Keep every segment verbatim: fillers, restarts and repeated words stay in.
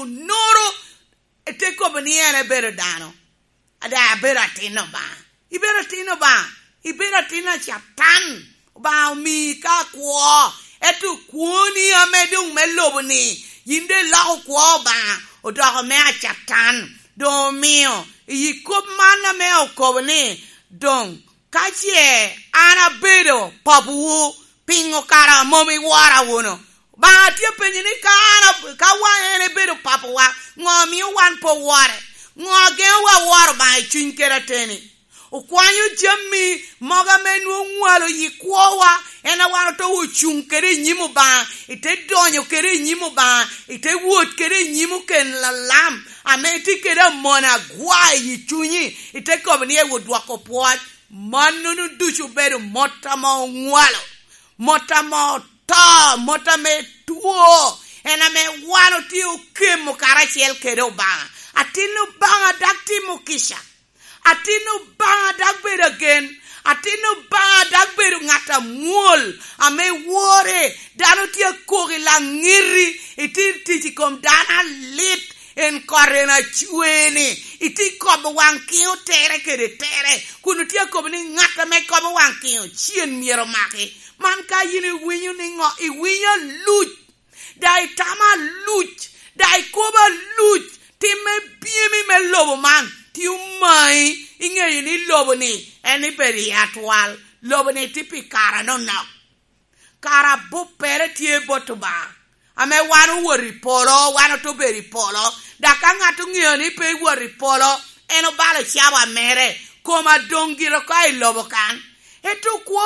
onoro, ite kobo ni en ebedo dano. Ada, abedo atin Obaŋa. Ibedo atin Obaŋa. Ibedo atin a Catan. Obaŋa omii ka kwo. Ento kwoni ame doŋ me lobo ni, yin doŋ iloko kwo Obaŋa, odoko me a Catan. Doŋ omio, i kop man ame okobo ni, doŋ, ka ce an abedo papawu, piŋo kara mom iwora wunu? Obaŋa tye apenyo ni, ka an ab-, ka wan en ebedo papawa, ŋo omio wan pe owore? Ŋo ageŋowa woro Obaŋa i cuny kede ateni? Okwanyo jami mogo ame nwoŋo ŋwalo yi kwowa, en a wan oto ocuŋ kede i nyim Obaŋa, ite donyo kede i nyim Obaŋa, ite wot kede i nyim oken lalam, ame tye kede amon agwa i cunyi, ite kobo ni, "Ewo dwoko pwoc." Mannono ducu obedo mot ame oŋwalo, mot ame oto, mot ame two, en ame wan otye okemo karacel kede Obaŋa. Atin Obaŋa dok timo kica. Atin Obaŋa dok bedo agen. Atin Obaŋa dok bedo ŋat amwol ame wore. Dano tye akok i laŋ ŋiti, itye tic i kom dano alit, en kot en acwe-ni. Itye kobo waŋ kiŋo tere kede tere, kun otye akobo ni ŋat ame kobo waŋ kiŋo cen myero omaki. Man ka yin iwinyo ni ŋo, iwinyo aluc, daŋ itamo aluc, daŋ ikobo aluc, timme byemi me lobo man tye omayi, iŋeyo ni lobo-ni en ibedo i atwal, lobo-ni tye pi kare anonok. Kara abuppere tye bot Obaŋa, ame wan owot i polo, wan oto bedo i polo, dok ka ŋat oŋeo ni pe ewot i polo, en obalo cawa mere, kom adoŋ gire oko i lobo kan. Ento kwo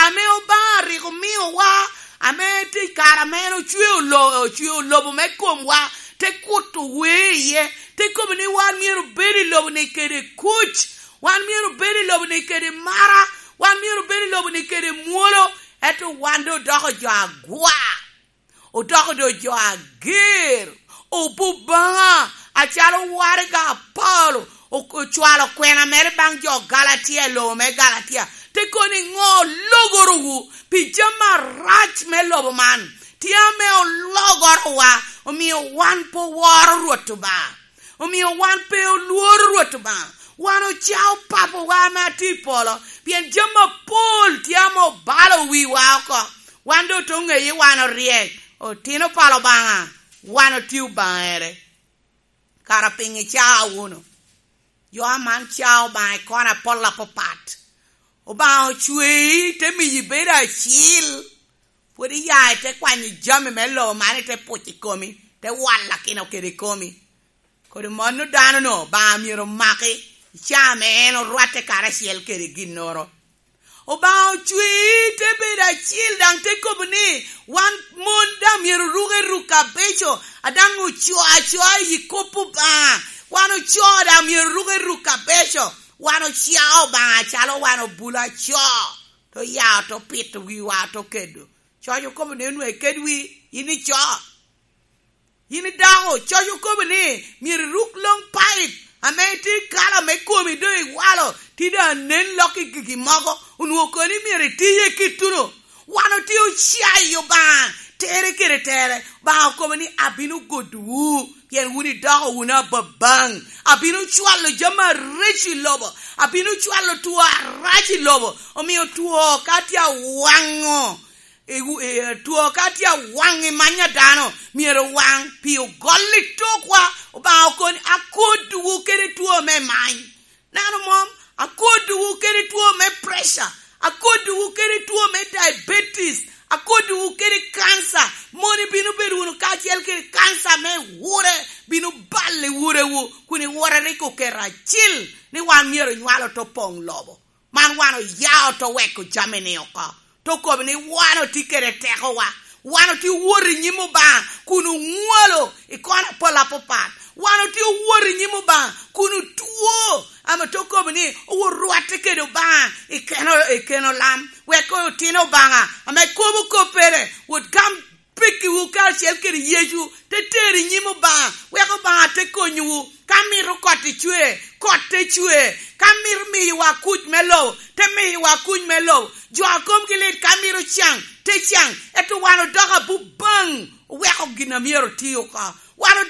ame Obaŋa rik omiowa, ame tye i kare ame en ocweo lo-, ocweo lobo me komwa, te kuto wer iye, te kobo ni wan myero obed i lobo-ni kede kuc, wan myero obed i lobo-ni kede mara, wan myero obed i lobo-ni kede mwolo, ento wan doŋ odoko jo agwa, odoko doŋ jo ager, obubaŋa, acalo waraga Paulo o-, ocwalo kwena mere baŋ jo Galatia i lobo me Galatia, te kobo ni, "Ŋo ologorowu pi jami arac me lobo man? Tye ame ologorowa, omio wan pe oworo Rwot Obaŋa." Omio wan pe olworo Rwot Obaŋa. Wan ocao Papawa ame atye i polo, pien jami apol tye ame obalo wiwa oko. Wan doŋ oto ŋeye wan oryek, otino pa Obaŋa, wan otye obaŋere. Kara piŋo icao wunu? Jo aman cao Obaŋa i kona apol apapat. Obaŋa ocwei, te miyi bedo acil. Pwod iya ite kwanyo jami me lobo man, ite puc i komi, te walakino kede komi. Kodi mano dano-nu Obaŋa myero omaki i caa ame en orwatte karacel kede ginnoro. Obaŋa ocwei te bedo acil, daŋ te kobo ni, wan mon daŋ myero oruk eruk abeco, a daŋ ocoo acoa i kop Obaŋa. Wan ocoo daŋ myero oruk eruk abeco. Wan ocao Obaŋa acalo wan obulo acoo, te oya oto pito wiwa oto kedo. Coc okobo ni, "Onwoŋo iked wi, yin ico. Yin idako." Coc okobo ni, "Myero iruk long paip ame tye i kala me komi, doŋ iwalo, ti doŋ anen lok i gigi mogo." Onwoŋo kono ni myero iti iye kittuno. Wan otye ocayo Obaŋa, tere kede tere. Obaŋa okobo ni, "Abino godowu, pien wun idoko wunu ababaŋ. Abino cwalo jami areco i lobo. Abino cwalo two arac i lobo." Omio two ka tye awaŋo, i wu-, i, two ka tye awaŋ i many a dano, myero waŋ, pi ogol i tokwa. Obaŋa okoni, "Akodowu kede two me many." Nano mom, "Akodowu kede two me pressure, akodowu kede two me diabetes, akodowu kede cancer." Mon ibino bedo wunu kacel kede cancer me wure, bino balo i wurewu, kun i wure rik oketo acil ni wan myero onywal oto poŋ lobo. Man wan oya oto weko jami-ni oko. Te okobo ni wan otye kede tekowa. Wan otye owot i nyim Obaŋa kun oŋwalo i kona apol apapat. Wan otye owot i nyim Obaŋa kun otwo, ame te okobo ni orwatte kede Obaŋa i keno, i keno lam, wek otino Obaŋa ame kobo koppere wot gam pekkiwu karacel kede Yecu, te tero i nyim Obaŋa, wek Obaŋa te konyowu. Ka mito kot icwe, kot te cwe. Ka mito miyowa kuc me lobo, te miyowa kuc me lobo. Jo a komgi lit ka mito caŋ, te caŋ. Ento wan odoko abubaŋ, oweko gin a myero oti oko. Wan odoko